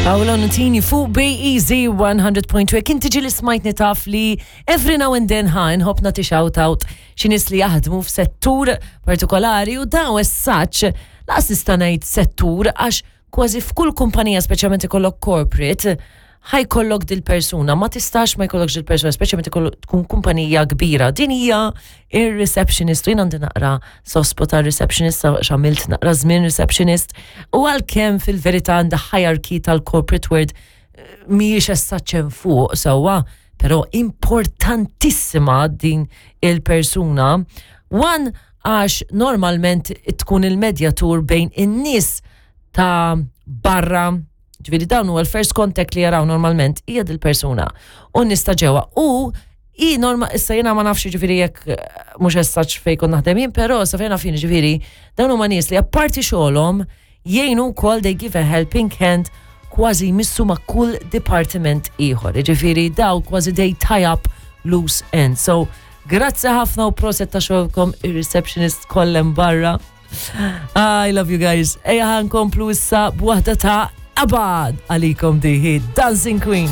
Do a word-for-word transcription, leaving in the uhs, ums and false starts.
Paolo Nutini fuq B E Z one hundred point two. Kien tiġi li smajtni taf li every now and then ħa nħobb nagħti shout out xi nies li jaħdmu f'settur partikolari u daw as such lanqas nista' ngħid settur, għax kważi f'kull kumpanija, speċjalment ikollok corporate, ħa jkollok dil-persuna, ma tistax ma jkollokx dil-persuna, speċjalment ikollok tkun kumpanija kbira. Din hija ir-receptionist, u jien għandi naqra soft spot receptionist, għamilt naqra żmien receptionist, u għalkemm fil-verità għandha hierarchy tal-corporate world mhijiex essaċen fuq sewwa, però importantissima din il-persuna. One, għax normalment tkun il-medjatur bejn in-nies ta' barra. Ġifieri dawn huwa l-first contact li jaraw normalment hija dil-persuna. U nista ġewwa. U i norma, issa jiena ma nafx, ġifieri jekk eh, mhux essaċ fejn kont naħdem jien, però sa fejn naf jien, ġifieri dawn huma nies li apparti xogħolhom jgħinu wkoll, they give a helping hand, kważi jmissu ma' kull departiment ieħor. Ġifieri daw kważi they tie up loose ends. So, grazzi ħafna u proset ta' xogħolkom, ir-receptionist kollha barra. I love you guys. Ejja ħa nkomplu issa b'waħda ta' ABBA għalikom, diħi Dancing Queen.